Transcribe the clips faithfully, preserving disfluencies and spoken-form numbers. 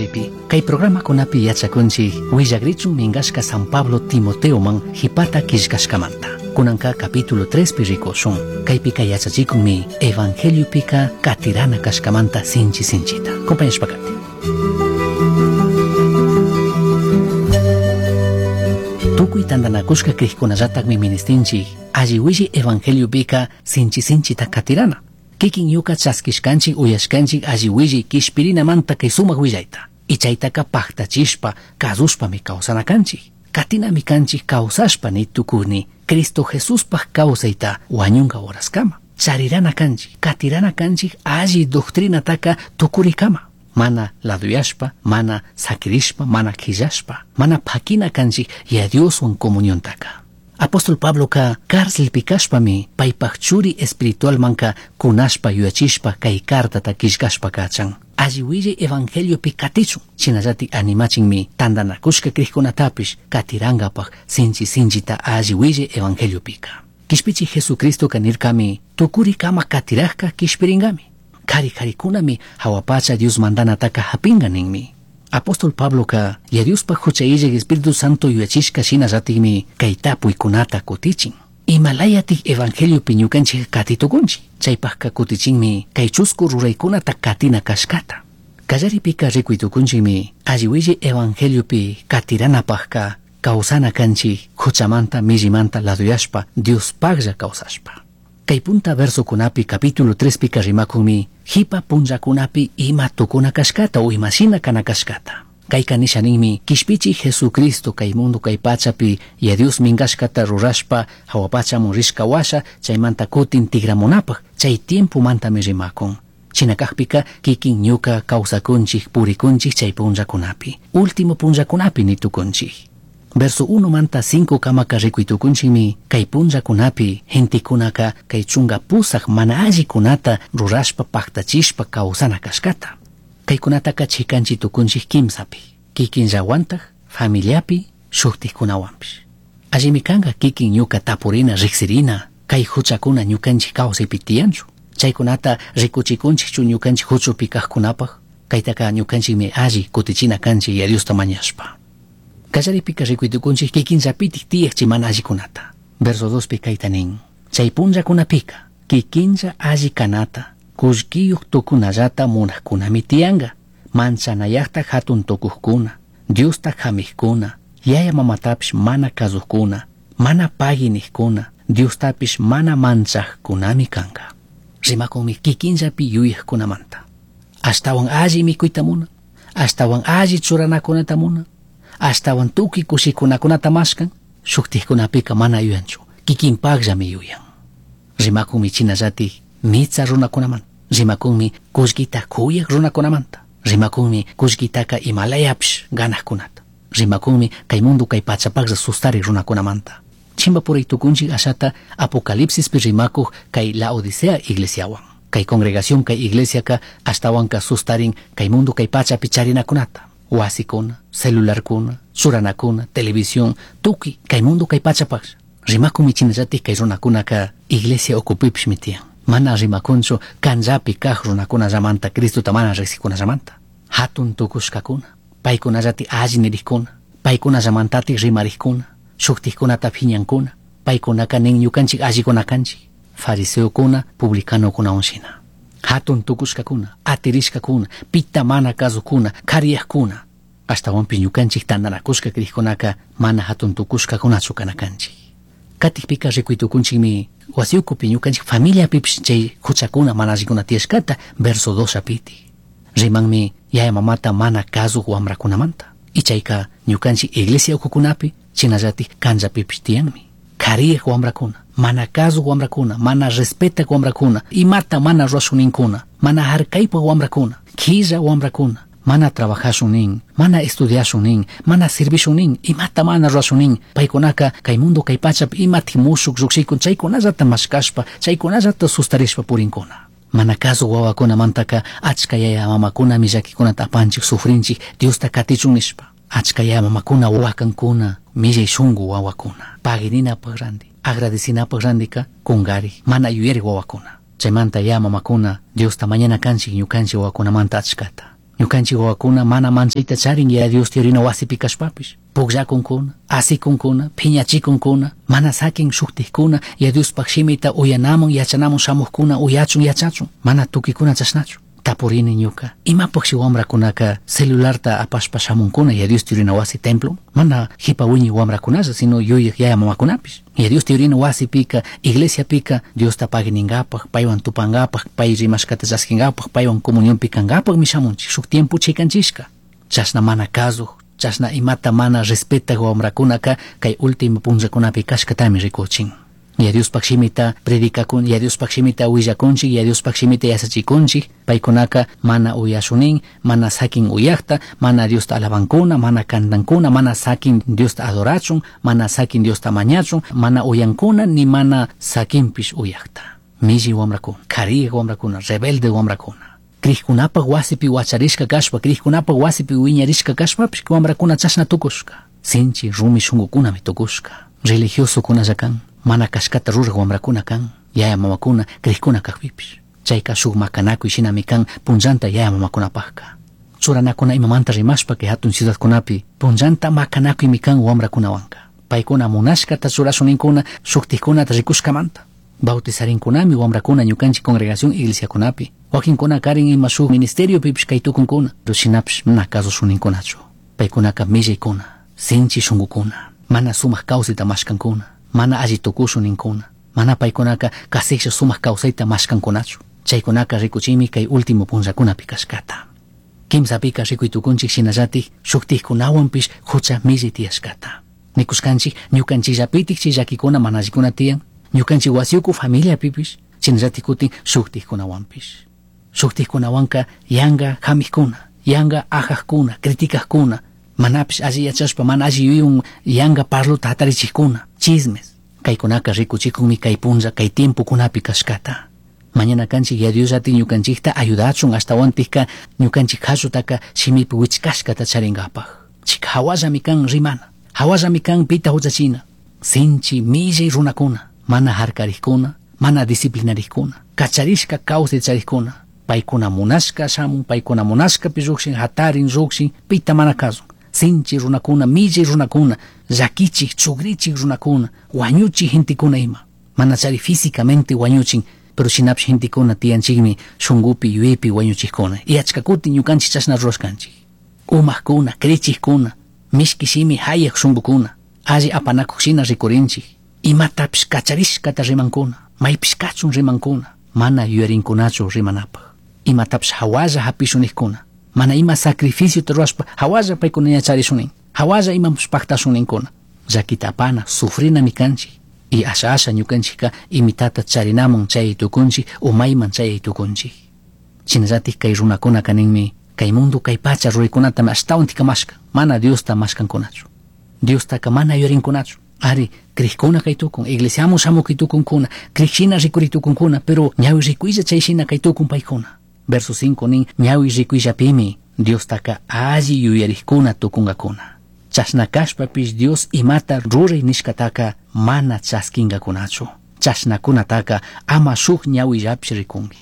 Kawsaypi. Kay programakunapi yachakunchik willagrichun minkashka San Pablo Timoteoman hipata killkashkamanta. Kunanka capítulo tres pi rikushun. Kaypika yachachikunmi evangeliopika katirana kashkamanta sinchi sinchita. Compañashpakati. Tukuy tantanakushka krikkunallatakmi ministinchik alli willi evangeliopika sinchi sinchita katirana. Kikin ñuka chaskishkanchik uyashkanchik alli willi kishpirinamanta kay sumak willayta. Ichaytaka paktachishpa kasushpami kawsana kanchik. Katinami kanchik kawsashpa ni tukuni Cristo Jesuspaj kawsayta wañunka horaskama. Charirana kanchik, katirana kanchik alli doctrinataka tukurikama. Mana laduyashpa, mana sakirishpa, mana quillashpa, mana pakina kanchik ya Dioswan comuniontaka. Apóstol Pabloka cárcelpi kashpami paypaj churi espiritualmanka kunashpa yuyachishpa kay cartata killkashpa kachan. Alli willay evangeliopi katichun, shinallatik animachinmi tantanakushka krikkunatapish katirankapak sinchi sinchita alli willay evangeliopika. Kishpichi Jesucristoka nirkami tukurikama katirajka kishpirinkami. Kari karikunami hawapacha Dios mandanataka hapinga ninmi. Apóstol Pabloka ya Diospaj hucha illaj Espíritu Santo yuyachishka shinallatikmi kay tapuykunata kutichin. Imalayatik evangeliopi ñukanchik katitukunchik. Chaypajka kutichinmi kay chusku ruraykunata katina kashkata. Kallaripika rikuytukunchikmi alli willay evangeliopi katiranapajka kawsana kanchik huchamanta millimanta laduyashpa Diospajlla kawsashpa. Kay punta versokunapi capítulo tres pika rimakunmi hipa punllakunapi ima tukuna kashkata o imashina kana kashkata. Kayka nisha ninmi kishpichi Jesucristo kay mundo kay pachapi ya Dios minkashkata rurashpa hawapachamun rishka washa chaymanta kutin tigramunapaj chay tiempo mantami rimakun. China kajpika kikin ñuka kawsakunchik purikunchik chay punllakunapi. Último punllakunapi nitukunchik. Verso uno manta cinco kamaka rikuytukunchikmi kay punllakunapi gentekunaka kay chunga pusaq mana allikunata rurashpa paktachishpa kawsana kashkata. Kaykunataka chikanchi tukunchik kimsapi, kikinllawantaj, familiapi, shuktikkunawanpish. Allimi kanka kikin ñuka tapurina riksirina, kay huchakuna ñukanchik kawsaypi tiyanchu. Chaykunata rikuchikunchikchu ñukanchik huchupi kajkunapaj, kaytaka ñukanchikmi alli kutichina kanchik ya Diosta mañashpa. Kallaripika rikuytukunchik kikinllapitik tiyaq mana allikunata. Verso dos pi kayta nin, chay punllakunapika kikinlla alli kanata, kullkiyuq tukunallata munajkunami tiyanka, manchanayaqta hatun tukuqkuna, Diosta hamiqkuna, yaya mamatapish mana kasuqkuna, mana pagui niqkuna, Diostapish mana manchaqkunami kanka. Rimakunmi kikinllapi yuyaqkunamanta. Ashtawan alli mikuyta munan, ashtawan alli churanakunata munan, ashtawan tukuy kushikunakunata mashkan, shuktikkunapika mana yuyanchu, kikinpaqllami yuyan. Rimakunmi chinallatik mitsa runakunamanta, rimakunmi kullkita kuyaq runakunamanta, rimakunmi kullkitaka imalayapish ganaqkunata, rimakunmi kay mundo kay pachapaqlla sustariq runakunamanta. Chimbapuray tukunchik ashata Apocalipsispi rimakuq kay Laodicea iglesiawan. Kay congregación kay iglesiaka ashtawanka sustarin kay mundo kay pachapi charinakunata. Wasikuna, celularkuna, churanakuna, televisión, tukuy kay mundo kay pachapaq. Rimakunmi chinallatik kay runakunaka iglesia ukupipishmi tiyan. Mana rimakunchu kanllapi kaq runakunallamanta Cristota mana riqsikunallamanta. Hatun tukushkakuna, paykunallati alli nirikkuna, paykunallamantatik rimarikkuna, shuktikkunata phiñankuna, paykunaka nin ñukanchik allikuna kanchik, fariseokuna, publicanokunawan shina. Hatun tukushkakuna, atirishkakuna, pita mana kasukuna, kariyaqkuna. Ashtawanpish ñukanchik tantanakushka krikkunaka mana hatun tukushkakunachu kana kanchik. Katikpika rikuytukunchikmi wasi ukupi ñukanchik familiapipish chay huchakuna mana allikuna tiyashkata verso dos apiti. Rimanmi yaya mamata mana kasuq wamrakunamanta. Ichayka ñukanchik iglesia ukukunapi chinallatik kanllapipish tiyanmi. Kariyaq wamrakuna, mana kasuq wamrakuna, mana respetaq wamrakuna, imata mana rurashuninkuna, mana harkaypaq wamrakuna, killa wamrakuna, mana trabajashun nin, mana estudiashun nin, mana servishun nin, imata mana rurashun nin, paykunaka kay mundo kay pachapi imatik mushuk lluqshikun chaykunallata mashkashpa, chaykunallata sustarishpa purinkuna. Mana kasuq wawakunamantaka achka yaya mamakunami llakikunata apanchik sufrinchik Diosta katichun nishpa. Achka yaya mamakuna wakankuna, millay shunku wawakuna, pagirinapaq ranti, agradecinapaq rantika kunkarik, mana yuyarik wawakuna. Chaymanta yaya mamakuna Diosta mañana kanchik ñukanchik wawakunamanta achkata. Ñukanchik wawakuna mana manchayta charin Yaya Diosta yurina wasipi kashpapish. Pukllakunkuna, asikunkuna, phiñachikunkuna, mana sakin shuktikkuna, Yaya Diospaj shimita uyanamun yachanamun shamukkuna uyachun yachachun, mana tukikuna chashnachu. Tapurini ñuka, imapaqshi wamrakunaka celularta apashpa shamunkuna Yaya Diosta yurina wasi templo? Mana jipa wiñi wamrakunalla, sino yuyaq yaya mamakunapish. Yaya Diosta yurina wasipika, iglesiapika, Diosta pagui ningapaj, paywan tupangapaj, pay rimashkata chaskingapak, paywan comunionpi kankapakmi shamunchik, shuk tiempo chikanchishka. Chashna mana kasuj, chashna imata mana respetak wamrakunaka kay último punllakunapi kashkatami rikuchin. Yaya Diospaj shimita predicakun, Yaya Diospaj shimita willakunchik, Yaya Diospaj shimita yachachikunchik, paykunaka mana uyashunin, mana sakin uyakta, mana Diosta alabankuna, mana kantankuna, mana sakin Diosta adorachun, mana sakin Diosta mañachun, mana uyankuna, ni mana sakinpish uyakta. Milli wamrakuna, kariyak wamrakuna, rebelde wamrakuna. Krikkunapaj wasipi wacharishka kashpa, krikkunapaj wasipi wiñarishka kashpapish wamrakuna chashna tukushka. Sinchi rumi shunkukunami tukushka. Religiosokunalla kan, mana kashkata ruraj wamrakuna kan, yaya mamakuna, krikuna kajpipish. Chayka shuk makanakuy shinami kan punllanta yaya mamakunapajka. Churanakuna imamanta rimashpa kay hatun ciudadkunapi punllanta makanakuymi kan wamrakunawanka. Paykuna munashkata churashuninkuna shuktikkunata rikushkamanta. Bautizarinkunami wamrakuna ñukanchik congregación iglesiakunapi. Wakinkuna karin ima shuk ministeriopipish kaytukunkuna. Pero shinapish mana kasushuninkkunachu. Paykunaka millaykuna, sinchi shunkukuna, mana sumak kawsayta mashkankuna, mana alli tukushuninkuna, mana paykunaka kasiklla sumak kawsayta mashkankunachu. Chaykunaka rikuchimi kay último punllakunapi kashkata. Kimsapika rikuy tukunchik shinallatik shuktikkunawanpish hucha millay tiyashkata. Nikushkanchik ñukanchikllapitik chay llakikuna mana allikuna tiyan, ñukanchik wasiyuku familiapipish, shinallatik kutin shuktikkunawanpish. Shuktikkunawanka yanka hamikuna, yanka ajakkuna, criticajkuna, manapish alli yachashpa mana alli yuyaywan yanka parluta hatarichikkuna, chismes. Kaykunaka rikuchikunmi kay punlla kay tiempokunapi kashkata. Mañana kanchik Yaya Dios ñukanchikta ayudachun ashtawantikka ñukanchik hallutaka shimipi wichkashkata charinkapaj. Chika hawallami kan rimana, hawallami kan pita huchachina. Sinchi millay runakuna, mana harkarikkuna, mana disciplinarikkuna, kacharishka kawsay charikkuna, paykuna munashka shamun, paykuna munashkapi llukshin, hatarin llukshin, pita mana kasun. Sinchi runakuna, millay runakuna, llakichik, chugrichik runakuna, wañuchik gentekuna ima. Mana chari físicamente wañuchin, pero shinapish gentekuna tiyanchikmi shunkupi yuyaypi wañuchikkuna. Y achka kutin ñukanchik chashna rurashkanchik. Umakuna, krichikkuna, mishki shimi hayak shunkukuna, alli apanakuq shina rikurinchik. Imatapish kacharishkata rimankuna, maypish kachun rimankuna, mana yuyarinkunachu rimanapaj. Imatapish hawalla hapishunikkuna, mana ima sacrificiota rurashpa hawalla paykuna yacharishunin, hawalla imapish paktashuninkuna. Llakita apana, sufrinami kanchik. Y asha asha ñukanchikka imitata charinamun chay tukunchik, umayman chay tukunchik. Shinallatik kay runakunaka ninmi, kay mundo kay pacha ruraykunatami ashtawantika mashkan, mana Diosta mashkankunachu. Diostaka mana yuyarinkunachu. Ari, krikkuna kay tukun, iglesiamun shamuk kay tukunkuna, krik shina rikuri tukunkuna, pero ñawi rikuylla chay shina kay tukun paykuna. Verso cinco nin, ñawi rikuyllapimi Diostaka alli yuyarikkuna tukunkakuna. Chashna kashpapish Dios imata ruray nishkataka mana chaskinkakunachu. Chashnakunataka ama shuk ñawillapish rikunki.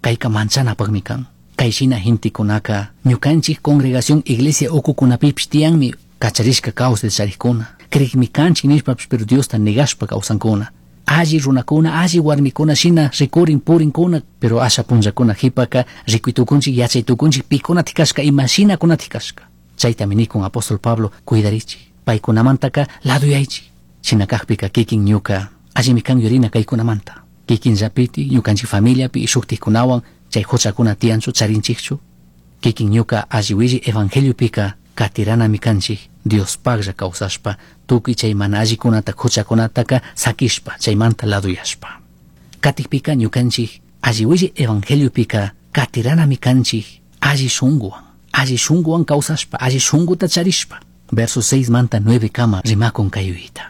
Kayka manchanapakmi kan. Kay shina gentekunaka ñukanchik congregación iglesia ukukunapipish tiyanmi kacharishka kawsay charikkuna. Krikmi kanchik nishpapish pero Diosta negashpa kawsankuna. Alli runakuna, alli warmikuna shina rikurin purinkuna, pero asha punllakuna jipaka rikuy tukunchik yachay tukunchik pikunatik kashka ima shinakunatik kashka. Chaytami nikun apóstol Pablo cuidarichik, paykunamantaka laduyaychik. Shina kakpika kikin ñuka allimi kan yurina kaykunamanta. Kikin llapiti ñukanchik familiapi y shuktikkunawan chay huchakuna tiyanchu charinchikchu. Kikin ñuka alli willi evangeliopika katiranami kanchik Diospaklla kawsashpa tukuy chay mana allikunata huchakunataka sakishpa chaymanta laduyashpa. Katikpika ñukanchik alli willi evangeliopika katiranami kanchik alli shunkuwan, alli shunkuwan kawsashpa, alli shunkuta charishpa. Verso seis manta nueve kama rimakun kay yuyayta.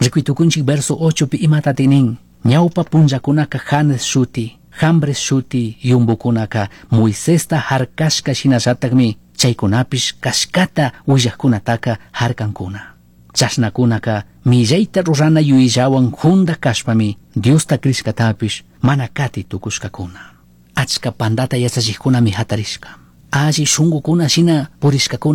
Rikuy tukunchik verso ocho pi imatati nin, ñawpa punllakunaka Janes shuti, Jambres shuti yumbukunaka Moisesta harkashka shinallatakmi chaykunapish kashkata willakkunataka harkankuna. Chashnakunaka millayta rurana yuyayllawan junda kashpami Diosta krishkatapish mana kati tukushkakuna. Achka pandata yachachikkunami hatarishka. Alli shungucuna shina purishcacuna